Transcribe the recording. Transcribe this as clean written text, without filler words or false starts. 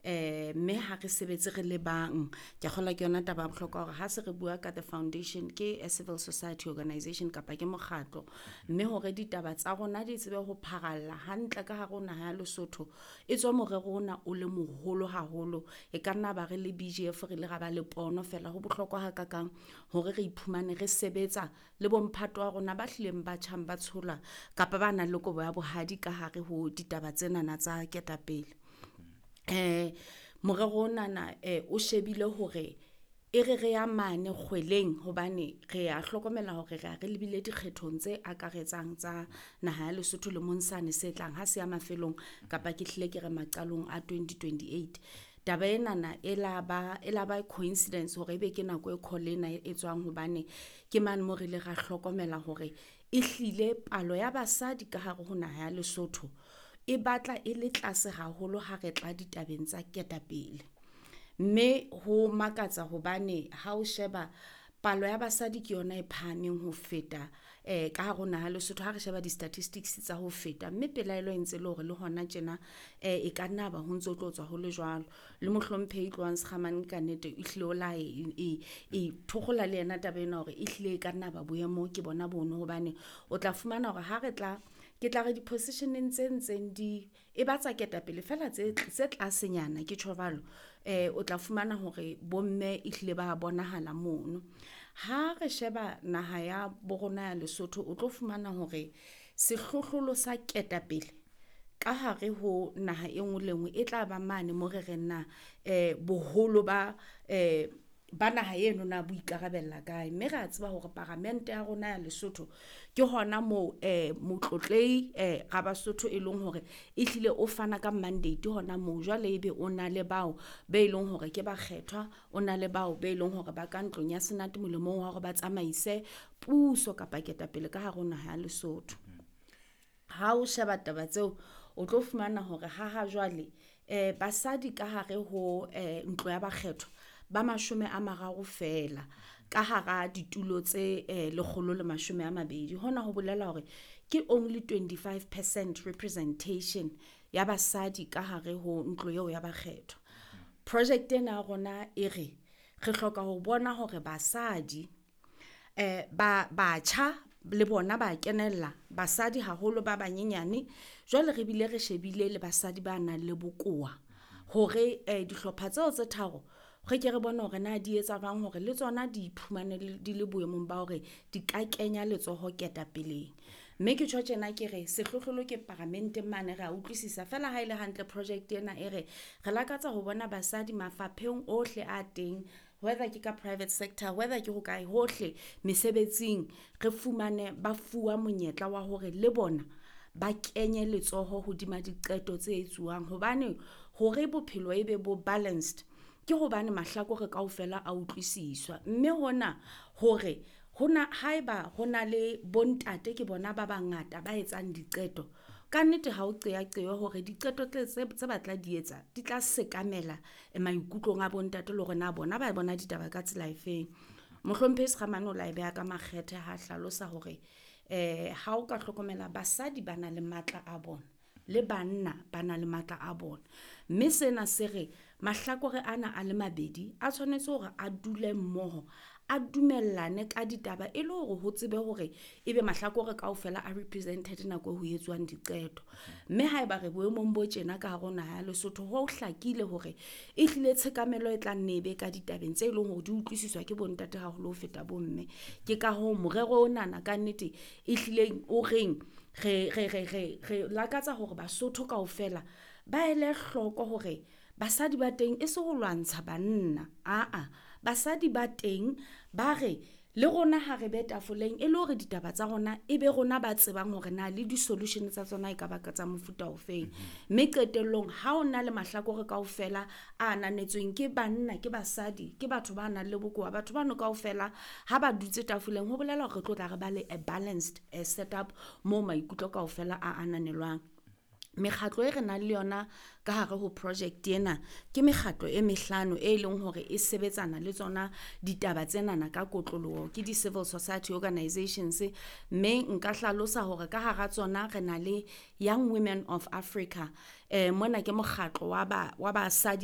Mme ha re sebetse re le bang, ke kgolwa ke yona taba ya bohlokwa hore ha se re bua ka the foundation ke a civil society organization kapa ke mokgatlo. Mme hore ditaba tsa rona di tsebe ho pharalla hantle ka hare ho naha ya Lesotho, e tswa morero ona o le moholo haholo. E ka nna ba re le BGF re ile ra ba le pono fela ho bohlokwa hakakang hore re iphumane re sebetsa le bomphato wa rona ba hlileng ba tjhang ba tshola kapa ba nang le kobo ya bohadi ka hare ho ditaba tsenana tsa ketapele. Morero onana o shebile hore e re re ya mane kgweleng hobane re a hlokomela hore re a re lebile dikgethong tse akaretsang tsa naha ya Lesotho lemong sane se tlang ha se ya mafelong kapa ke hlile ke re maqalong a 2028. Taba enana e la ba coincidence hore ebe ke nako e call ena e tswang hobane ke mane mo re ile ra hlokomela hore e hlile palo ya basadi ka hare ho naha ya Lesotho e batla e le tlase haholo ha re tla ditabeng tsa ketapele. Mme ho makatsa hobane ha o sheba palo ya basadi ke yona e phahameng ho feta ka hare ho naha Lesotho ha re sheba di-statistics tsa ho feta. Mme pelaelo e ntse le hore le hona tjena e ka nna ba ho ntso tlo tswa ho le jwalo. Le mohlomphehi Tlohang Sekhamane ka nnete e hlile o la e thokgola le yena taba ena hore e hlile e ka nna ba boemo ke bona bono hobane o tla fumana hore ha re tla ke tla re di-position-eng tse ntseng di e ba tsa ketapele fela tse tlasenyana ke tjho jwalo. O tla fumana hore bomme e hlile ba bonahala mono. Ha re sheba naha ya bo rona ya Lesotho, o tlo fumana hore sehlohlolo sa ketapele ka hare ho naha e nngwe le nngwe e tla ba mane mo re reng na boholo ba naha eno na bo ikarabella kae. Mme re a tseba hore paramente ya rona ya Lesotho ke hona moo motlotlehi Rabasotho e leng hore e hlile o fana ka mandate hona moo. Jwale ebe o na le bao be leng hore ke bakgethwa, o na le bao be leng hore ba ka ntlong ya senate molemong wa hore ba tsamaise puso kapa ketapele ka hare ho naha ya Lesotho. Ha o sheba taba tseo, o tlo fumana hore ha jwale basadi ka hare ho ntlo ya bakgethwa ba 30 fela ka hara ditulo tse 120. Hona ho bolela hore ke only 25% representation ya basadi ka hare ho ntlo eo ya bakgethwa. Project ena ya rona e re re hloka ho bona hore basadi batjha le bona ba kenella, basadi haholo ba banyenyane. Jwale re bile re shebile le basadi ba nang le bokowa hore dihlopha tseo tse tharo re ke re bone hore na di etsa jwang hore le tsona di iphumane di le boemong ba hore di ka kenya letsoho ketapeleng. Mme ke tjho tjena ke re sehlohlolo ke paramenteng mane re a utlwisisa fela ha ele hantle project ena e re re lakatsa ho bona basadi mafapheng ohle a teng, whether ke ka private sector, whether ke ho kae hohle mesebetsing, re fumane ba fuwa monyetla wa hore le bona ba kenye letsoho hodima diqeto tse etsuwang. Hobane hore bophelo e be bo balanced ke hobane mahlakore kaofela a utlwisiswa. Mme hona hore hona haeba hona le bontate ke bona ba bangata ba etsang diqeto, ka nnete ha o qeaqeo hore diqeto tse batla di etsa di tla sekamela maikutlong a bontate le hore na bona ba bona ditaba ka tsela efeng. Mohlomphehi Sekhamane o la e beha ka makgethe ha hlalosa hore ha o ka hlokomela basadi ba na le matla a bona le banna ba na le matla a bona. Mme sena se re mahlakore ana a le mabedi a tshwanetse hore a dule mmoho, a dumellane ka ditaba e le hore ho tsebe hore ebe mahlakore kaofela a represented nako ho etsuwang diqeto. Mme haeba re boemong bo tjena ka hare ho naha ya Lesotho, ho hlakile hore e hlile tshekamelo e tla nne ebe ka ditabeng tse leng hore di utlwisiswa ke bontate haholo ho feta bomme. Ke ka hoo morero onana ka nnete e hlileng o reng re lakatsa hore Basotho kaofela ba ele hloko hore basadi ba teng e se ho lwantsha banna. Aa, basadi ba teng ba re le rona ha re be tafoleng e le hore ditaba tsa rona e be rona ba tsebang hore na le di-solution tsa tsona e ka ba tsa mofuta ofeng. Mme qetellong ha o na le mahlakore kaofela a ananetsweng ke banna, ke basadi, ke batho ba nang le bokowa, batho bano kaofela ha ba dutse tafoleng ho bolela hore re tlo tla re ba le a balanced setup moo maikutlo kaofela a ananelwang. Mekgatlo e re nang le yona ka hare ho project ena ke mekgatlo e mehlano e leng hore e sebetsana le tsona ditaba tsenana ka kotloloho, ke di-civil society organizations. Mme nka hlalosa hore ka hara tsona re na le Young Women of Africa. Mona ke mokgatlo wa basadi